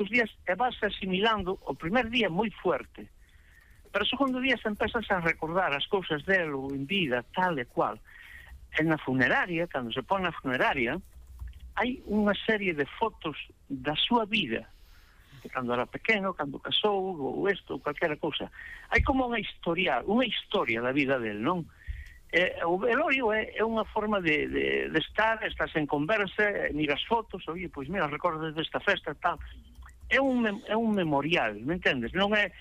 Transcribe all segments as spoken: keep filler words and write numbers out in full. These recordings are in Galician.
os días e vas asimilando. O primer día moi fuerte, pero o segundo día se empezas a recordar as cousas delo en vida, tal e cual. E na funeraria, cando se pon na funeraria, hai unha serie de fotos da súa vida, de cando era pequeno, cando casou, ou isto, ou calquera cousa. Hai como unha historia, unha historia da vida del, non? Eh, o velorio é, é unha forma de, de, de estar, estás en conversa, miras fotos, oye, pois mira, recordas desta festa, tal. É un, é un memorial, me entendes? Non é,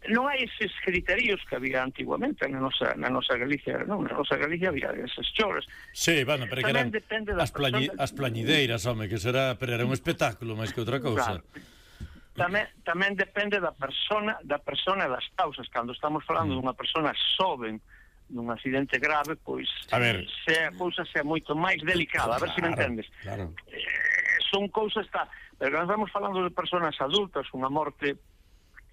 non hai eses criterios que había antiguamente na nosa, na nosa Galicia, non? Na nosa Galicia había esas choras. Sí, bueno, pero que eran as, plañi, as plañideiras, home, que será, pero era un espectáculo máis que outra cousa. Claro. Tamén, tamén depende da persona, da persona e das causas. Cando estamos falando mm. dunha persona xoven, nun accidente grave, pois a ver, se a cousa sea moito máis delicada, a ver claro, se me entendes. Claro. Eh, son cousas, está, pero cando estamos falando de personas adultas, unha morte,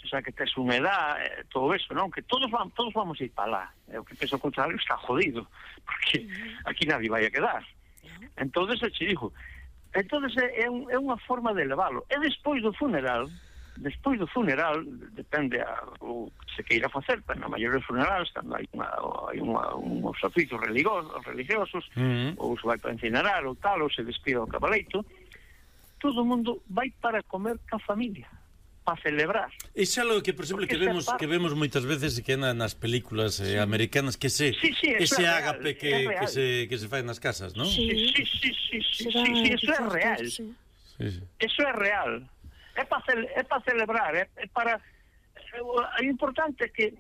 o sea, que tes unha edad, eh, todo eso, non? Que todos vamos, todos vamos a ir para lá. É o que penso o contrario, está jodido, porque aquí nadie vai a quedar. Entonces, eu te digo, entonces é, un, é unha forma de elevalo. E despois do funeral, despois do funeral, depende a, o que se queira facer, pero na maioría dos funerales, cando hai, unha, hai unha, uns oficios religiosos, religiosos uh-huh. ou se vai para incinerar ou tal, ou se despida o cabaleito, todo o mundo vai para comer ca familia, para celebrar. Iso é algo que, por exemplo, que vemos, que vemos moitas veces que na, nas películas eh, sí. americanas, que se, sí, sí, ese é ágape que, que, se, que se fai nas casas, non? Sí, sí, sí, sí, sí, sí, sí, sí, eso é real. Sí, sí. Eso é real. É para é para celebrar, é, é para é importante que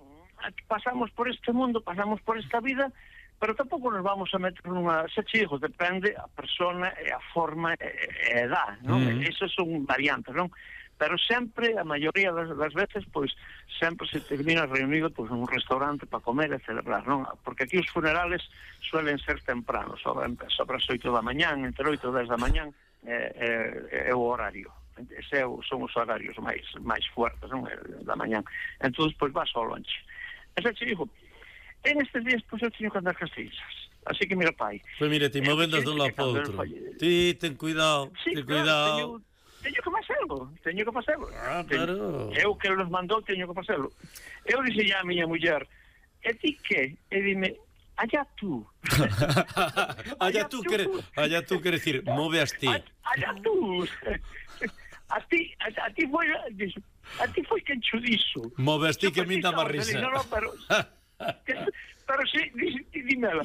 pasamos por este mundo, pasamos por esta vida, pero tampouco nos vamos a meter nunha sechijos, depende a persona e a forma e a edad, non? Mm. Esas son variantes, non? Pero sempre, a maioría das, das veces, pois sempre se termina reunido pois nun restaurante para comer e celebrar, non? Porque aquí os funerales suelen ser tempranos, sobre, sobre as oito da mañán, entre oito e dez da mañán é, é, é o horario. Ese son os horarios máis máis fuertes, non? Da mañán. Entón, pois vas ao lonche. Ese te digo, en estes días, pois eu teño que andar castillas. Así que, mira, pai. Pois mira, ti movendas dun lado para outro. Ti, ten cuidado, sí, ten claro, cuidado. Teño, teño que facelo, teño que facelo. Ah, claro. Eu que nos mandou, teño que facelo. Eu dixen a miña muller, e ti que? E dime, allá tú. allá tú, quere, allá tú quere decir, move as ti. Allá tú. A ti, a, a ti foi a ti foi quen cho dixo. Moves ti que me dá má risa. No, no, pero que, pero si, dímela.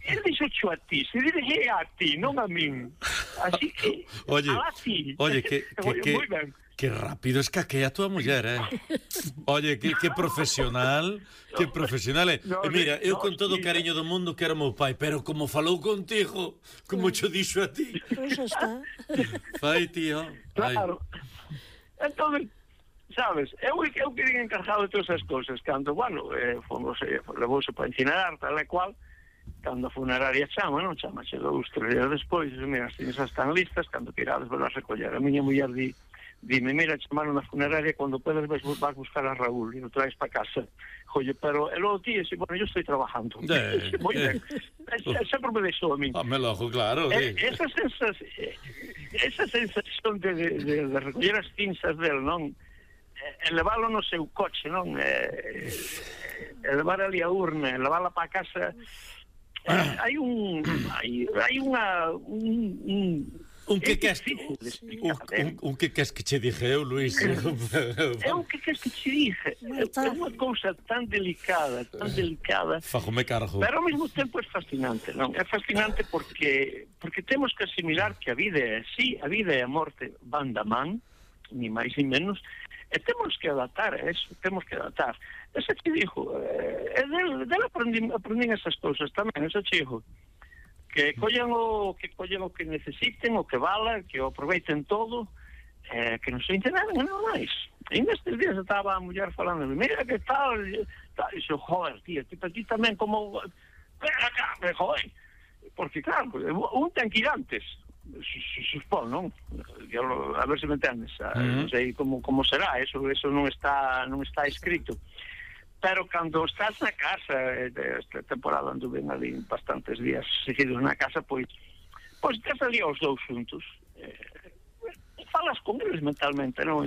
Él dixo cho a ti, se dirige a ti, non a min. Así que oye, a ti. Oye, que que que, que rápido escaquea a tua muller, eh. Oye, que, que profesional, que profesional, eh. No, e mira, eu no, con todo o cariño do mundo quero meu pai, pero como falou contigo, como cho dixo a ti. Pois pues está. Fai, tío. Claro. Entonces, sabes, eu, eu quería encargado de todas as cousas, cando, bueno, eh, fomos, eh, levouse para incinerar, tal e cual, cando a funeraria chama, non chama, che dous, tres días despois, mira, as cinzas están listas, cando que irades volver a recoller. A miña muller di, dime, mira, chamaron na funeraria, cando puedes vas, vas buscar a Raúl e o traes para casa. Oye, pero el outro día, bueno, yo estoy trabajando. Eh, Muy eh. bien. Sempre me deixou a mí. Ah, me lo ojo, claro. Eh, sí. esa, sensación, esa sensación de, de, de, de recoller as cinzas del, non? Eh, leválo no seu coche, non? Eh, eh, levar ali a urna, levarla para casa. Eh, hai un hai, hai unha un, un Un que queres un, un, un que queres que che dije eu, Luís. É un que queres que che dije. É unha cousa tan delicada, tan delicada. Fajome cargo. Pero ao mesmo tempo é fascinante, non? É fascinante porque porque temos que asimilar que a vida é así, a vida e a morte van da man, ni máis ni menos, e temos que adaptar a eso, temos que adaptar. Ese che dixo, é del, del aprendín, aprendín esas cousas tamén, ese che dixo. Que collan o que collan o que necesiten, o que vala, que o aproveiten todo, eh, que non se enteraran nada máis. E nestes días estaba a muller falando, mira que tal, tal, e xo, joder, tío, tipo aquí tamén como, ven acá, me joder, porque claro, un ten que ir antes, suspón, non? A ver se me entendes, non sei como como será, eso eso non está non está escrito. Pero cando estás na casa, esta temporada anduve ali bastantes días seguidos na casa, pois pois estás ali aos dous xuntos, eh, falas con eles mentalmente, non?